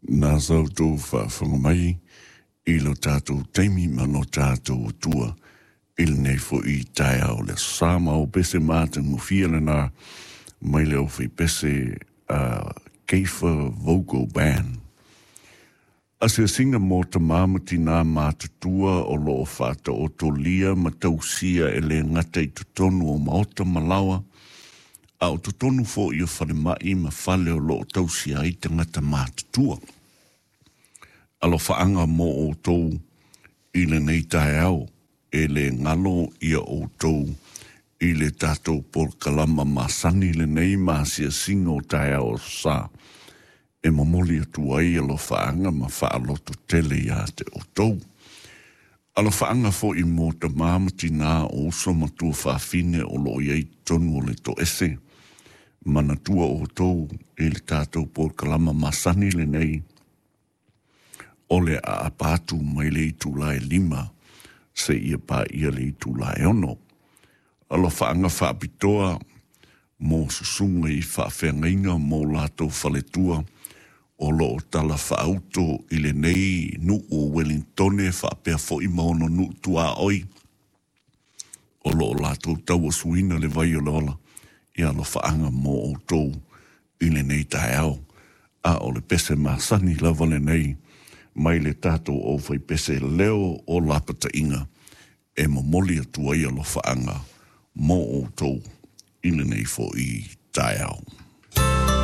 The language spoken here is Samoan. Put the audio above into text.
Na sa outou faafofoga mai i lo tatou taimi ma lo tatou Atua i lenei foi taeao o le Aso Sa ma o pese matagofie lena mai le aufaipese a Keifer Vocal Band. Asiasiga mo tamā ma tinā matutua o lo o faataotolia ma tausia e le gata i totonu o maota ma laoa, a o totonu foi o falemai ma fale o lo o tausia ai tagata matutua. Alofaaga mo outou i lenei taeao, e le galo ia outou i le tatou polokalama masani lenei ma asiasiga o taeao o Aso Sa e momoli atu ai alofaaga ma faalototele iā te outou. Alofaaga foi mo tamā ma tinā o uso ma tuafafine o lo o i ai i totonu o le toese. Manatua outou i le tatou polokalama masani lenei o le aapa atu mai le itula e 5 seia paia le itula e 6. Alofaaga faapitoa mo susuga i faafeagaiga mo latou faletua o lo o talafaauto i lenei nuu o Wellingtone faapea foi ma ona nuu tuaoi o lo o latou tauasuina le vai o le ola i alofaaga mo outou i lenei taeao. A o le pese masani lava lenei mai le tatou aufaipese leo o lapataiga e momoli atu ai alofaaga mo outou i lenei foi taeao.